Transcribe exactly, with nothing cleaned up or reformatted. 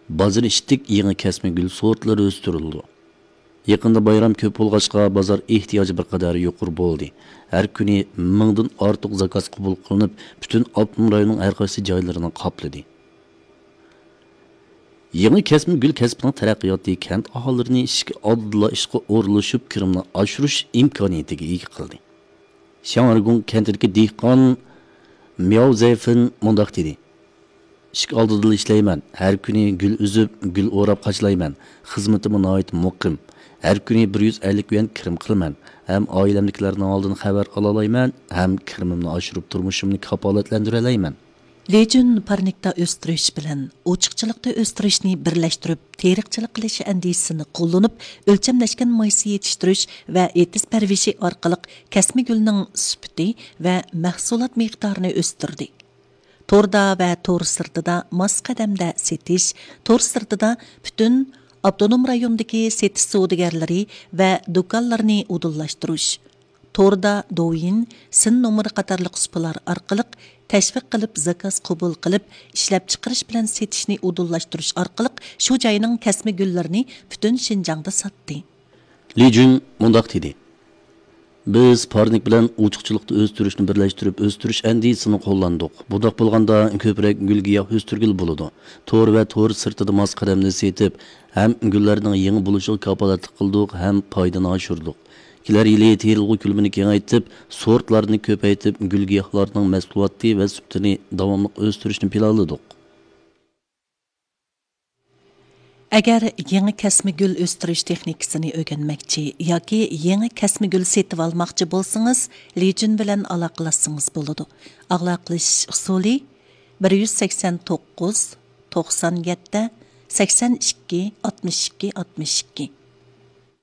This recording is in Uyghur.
بازىرى ئىشتىك يېڭى كەسمە گۈل سورتلىرى ئۆستۈرۈلىدۇ. يېقىندا بايرام كۆپ بولغاچقا، بازار ئېھتىياجى بىر قەدەر يۇقىرى بولدى. ھەر كۈنى مىڭدىن ئارتۇق زاكاز قوبۇل قىلىنىپ، پۈتۈن ئاپتونوم رايوننىڭ ھەر قايسى جايلىرىنى قاپلىدى. يېڭى كەسمە گۈل كەسپىنىڭ تەرەققىياتى كەنت ئاھالىلىرىنى ئىشىك ئالدىدىلا ئىشقا ئورۇنلىشىپ، كىرىمنى ئاشۇرۇش ئىمكانىيىتىگە ئىگە قىلدى. شياڭرىگۇڭ كەنتىدىكى دېھقان مياۋ زەيفېن مۇنداق دېدى: «ئىشىك ئالدىدىلا ئىشلەيمەن، ھەر كۈنى گۈل ئۈزۈپ، گۈل ئوراپ قاچىلايمەن. خىزمىتىممۇ ناھايىتى مۇقىم. ھەر كۈنى بىر يۈز ئەللىك يۈەن كىرىم قىلىمەن، ھەم ئائىلەمدىكىلەرنىڭ ھالىدىن خەۋەر ئالالايمەن، ھەم كىرىمىمنى ئاشۇرۇپ، تۇرمۇشۇمنى كاپالەتلەندۈرەلەيمەن.» لى جۈن پارنىكتا ئۆستۈرۈش بىلەن ئوچۇقچىلىقتا ئۆستۈرۈشنى بىرلەشتۈرۈپ، تېرىقچىلىق قىلىش ئەندىزىسىنى قوللىنىپ، ئۆلچەملەشكەن مايسا يېتىشتۈرۈش ۋە ئېتىز پەرۋىشى ئارقىلىق كەسمە گۈلنىڭ سۈپىتى ۋە مەھسۇلات مىقدارىنى ئۆستۈردى. توردا ۋە تور سىرتىدا ماس قەدەمدە سېتىش، تور سىرتىدا پۈتۈن ئاپتونوم رايوندىكى سېتىش سودىگەرلىرى ۋە دۇكانلىرىنى ئۇدۇللاشتۇرۇش، توردا دوۋيىن، سىن نومۇرى قاتارلىق سۇپىلار ئارقىلىق تەشۋىق قىلىپ، زاكاز قوبۇل قىلىپ، ئىشلەپچىقىرىش بىلەن سېتىشنى ئۇدۇللاشتۇرۇش ئارقىلىق شۇ جاينىڭ كەسمە گۈللىرىنى پۈتۈن شىنجاڭدا ساتتى. لى جۈن مۇنداق دېدى: «بىز پارنىك بىلەن ئوچۇقچىلىقتا ئۆستۈرۈشنى بىرلەشتۈرۈپ ئۆستۈرۈش ئەندىزىسىنى قوللاندۇق. بۇنداق بولغاندا، كۆپرەك گۈل گىياھ ئۆستۈرگىلى بولىدۇ. تور ۋە تور سىرتىدا ماس قەدەمدە سېتىپ، ھەم گۈللەرنىڭ يېڭى بولۇشىغا كاپالەتلىك قىلدۇق، ھەم پايدىنى ئاشۇردۇق. كېلەر يىلى تېرىلغۇ كۆلىمىنى كېڭەيتىپ، سورتلارنى كۆپەيتىپ، گۈل گىياھلارنىڭ مەھسۇلاتى ۋە سۈپىتىنى داۋاملىق ئۆستۈرۈشنى پىلانلىدۇق.» ئەگەر يېڭى كەسمە گۈل ئۆستۈرۈش تېخنىكىسىنى ئۆگەنمەكچى ياكى يېڭى كەسمە گۈل سېتىۋالماقچى بولسىڭىز، لى جۈن بىلەن ئالاقىلەشسىڭىز بولىدۇ. ئالاقىلىشىش ئۇسۇلى: بىر يۈز سەكسەن توققۇز، توقسان يەتتە، سەكسەن ئىككى، ئاتمىش ئىككى، ئاتمىش ئىككى.